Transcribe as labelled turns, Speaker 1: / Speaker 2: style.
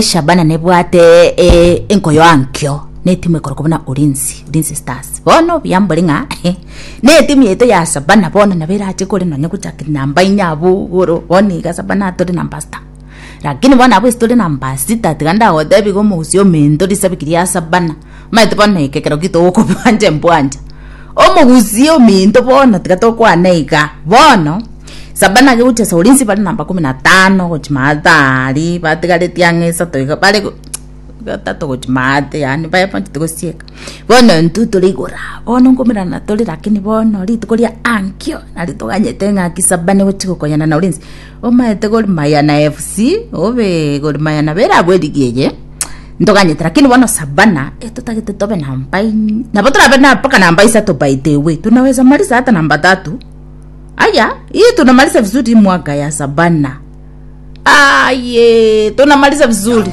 Speaker 1: Shabana nebwate eh, enkoyo ankio netimu ekorokwa buna Ulinzi, Ulinzi Stars. Bono buya mbore ng'a netimu yaito ya Shabana bono nabo erache kore nonye gochaka namba inya abwo igoro bono iga Shabana tore namba sita. Lakini bono abwo ase tore namba sita tiga ndagotebi iga omogusii ominto risabiki ria Shabana omanyete bono eke ekero gitogokobwancha mbwancha. Omogusii ominto bono tiga tokwane iga bono. Saba na gochia Ulinzi bare namba kumi na tano gochia maate aria batigaretie ang'e isato iga bare gatato gochia maate yaani baebanchete gosieka. Bono intwe tore igoro aa, bono nkomerana tore lakini bono rituko ria ankio nari toganyete ng'aki saba nigochia gokonyana na Ulinzi. Omanyete Gor Mahia na FC, obe Gor Mahia nabo ere abwo eligi eye, ntoganyete lakini bono Savana etotagete tobe namba inye, nabo torabe na mpaka namba isato by the way, tunaweza maliza hata namba tatu. Aya, hii tunamaliza vizuri mwaka ya Sabana. Aye, tunamaliza vizuri.